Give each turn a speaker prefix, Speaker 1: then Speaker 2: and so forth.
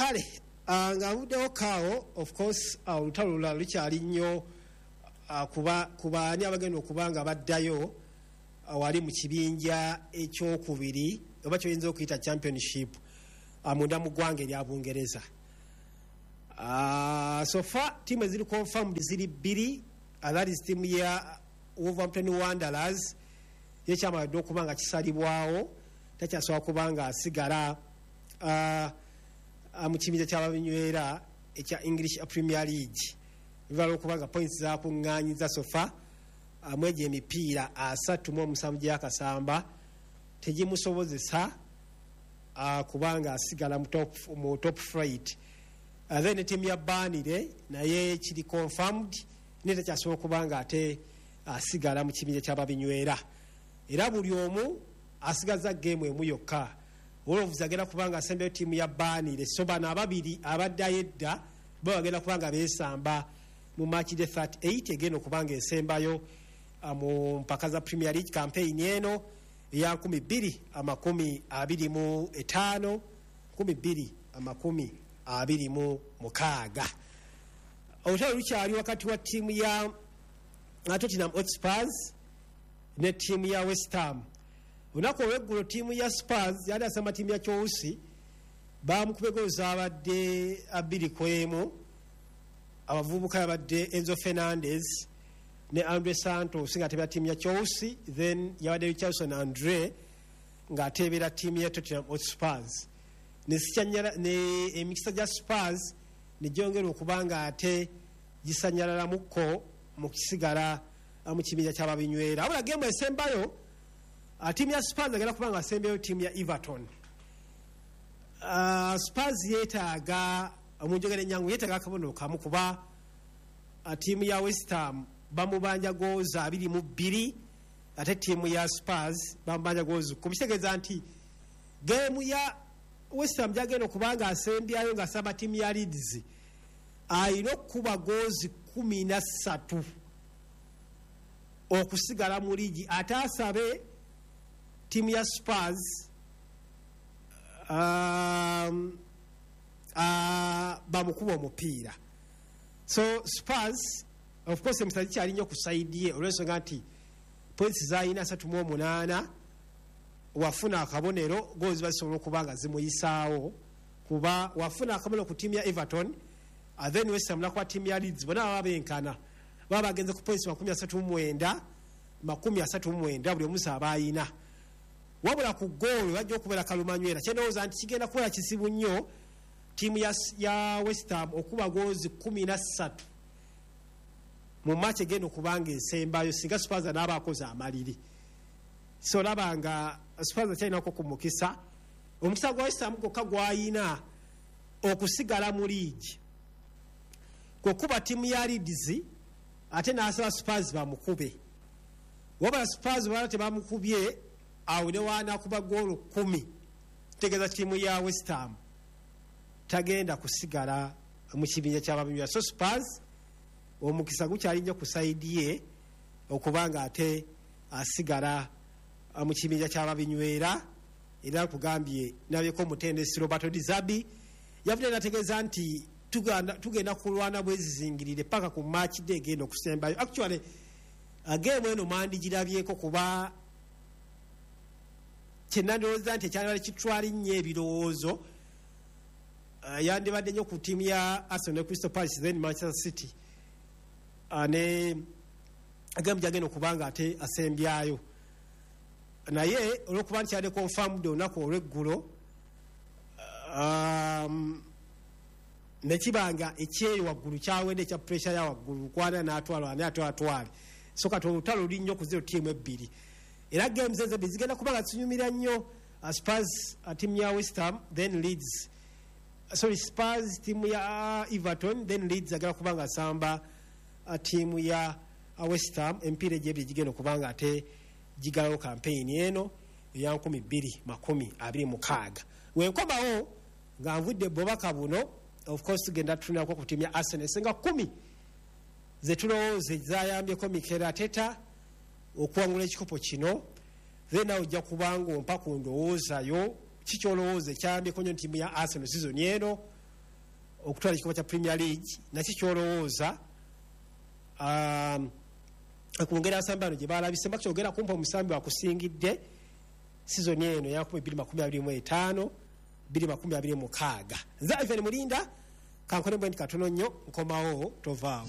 Speaker 1: Kale nga nvuddewo kaawo, of course olutalo lulala lukyali nnyo kuba ku baani abagenda okuba nga baddayo wali mu kibinja ekyokubiri oba kyoyinza okuyita Championship munda mu ggwanga erya Bungereza. So far tiimu eziri confirmed ziri bbiri. That is tiimu ya Wolverhampton Wanderers, yekyamaladde okuba nga kisalibwawo, takyasobola kuba nga asigala mu kibinja kyababinywera ekya English Premier League, bivala okuba nga points zakuŋŋanyiza so far mwegyo emipiira 37 gyakasamba tegimusobozesa kubanga asigala mu top flight. Then tiimu ya Burnley naye kiri confirmed, naye takyasobola okuba nga ate asigala mu kibinja kyababinywera, era buli omu asigaza game emu yokka. Wolves agenda kubanga asembayo tiimu ya Burnley, so bano ababiri abaddayo edda bo bagenda kuba nga beesamba mu match day 38 egenda okuba nga esembayo mu mpaka za Premier League campaign eno eya 2025 2026. Olutalo lukyali wakati wa ttiimu ya Tottenham Hotspurs ne ttiimu ya West Ham. Olunaku olweggulo ttiimu ya Spurs yali asamba ttiimu ya Chelsea, bamukuba egolo zabadde 2-1. Abavubuka yabadde Enzo Fernandez ne Andre Santos nga atebera ttiimu ya Chelsea, then yabadde Richardson Andre ng'ateebera ttiimu ya Tottenham Hotspurs. Ne emikisa gya Spurs negyongera okuba nga ate gisanyalalamukko mu kisigala mu kibinja kyababinywera. Wabula game esembayo, ttiimu ya Spurs agenda kuba nga asembayo ttiimu ya Everton. Spurs yeetaaga, munjogera enyangu, yeetaaga akabonero kamu, kuba ttiimu ya West Ham bamubanja goozi 22, ate ttiimu ya Spurs bamubanja goozi 10. Kitegeeza nti game ya West Ham gyagenda okuba nga asembyayo ng'asamba ttiimu ya Leeds, ayina okukuba goozi 13 okusigala mu liigi, ate asabe ttiimu ya Spurs bamukuba omupiira. So Spurs, of course, emisa gikyali nnyo ku side ye, olw'ensonga nti points zayina 38, wafuna akabonero gozi bazisobola okuba nga zimuyisaawo, kuba wafuna akabonero ku ttiimu ya Everton, then West Ham nakuba ttiimu ya Leeds, bonna baba benkana, baba bagenze ku points 39, 39 buli omusa aba ayina. Wabula ku goolo bajja okubeera kalumanywera. Kyendowooza nti kigenda kubeera kizibu nnyo ttiimu ya West Ham okuba goozi 13 mu match egenda okuba nga esembayo, singa Spurs anaaba akoze amaliri. So olaba nga Spurs akyalinako ku mukisa. Omukisa gwa West Ham gwokka gwayina okusigala mu liigi kwekuba ttiimu ya Leeds, ate n'asaba Spurs bamukube. Wabula Spurs bala tebamukubye, awo ne wanakuba goolo 10, tegeeza ttiimu ya West Ham tagenda kusigala mu kibinja kyababinywera. So Spurs omukisa gukyali nnyo ku side ye okuba nga ate asigala mu kibinja kyababinywera. Era nkugambye nabyeko omutendesi Roberto De Zerbi yavudde nategeeza nti tugenda kulwana bwezizingirire paka ku match day egenda okusembayo. Actually, game eno mandigirabyeko, kuba kyenandowooza nti ekyandibadde kitwala nnyo ebirowoozo yandibadde nnyo ku ttiimu ya Arsenal ne Crystal Palace, then Manchester City, ne game gyagenda okuba nga ate asembyayo. Naye olwokuba nti yadde confirmed olunaku olweggulo, nekibanga ekyeyo waggulu kyawedde, ekya pressure ya waggulu kwana natwala ani ate atwale. So kati olutalo luli nnyo ku zero ttiimu ebbiri, era games ezo ebbiri zigenda kuba nga zinyumira nnyo. Spurs tiimu ya West Ham, then Leeds, sorry, Spurs tiimu ya Everton, then Leeds agenda kuba nga asamba tiimu ya West Ham. Emipiira egyo ebiri gigenda okuba nga ate gigalawo campaign eno eya 2026. Wenkomawo nga nvudde bubaka buno, of course tugenda tutunako ku tiimu ya Arsenal, esenga 10 zetulowooza zayambyeko Mikel Arteta okuwangula ekikopo kino. Then nawe ojja kubanga ompa ku ndowoozayo, kikyolowooza ekyayambyeko nnyo tiimu ya Arsenal season eno. Okutwala ekikopo kya Premier League, naki kyolowooza ku ngeri abasambi bano gye balabise? Mbakyogera kumpa omusambi wakusingidde sizoni eno ya 2025 2026. Nze Ivan Mulinda, kankole mbwe nti katono nnyo nkomawo, tovaawo.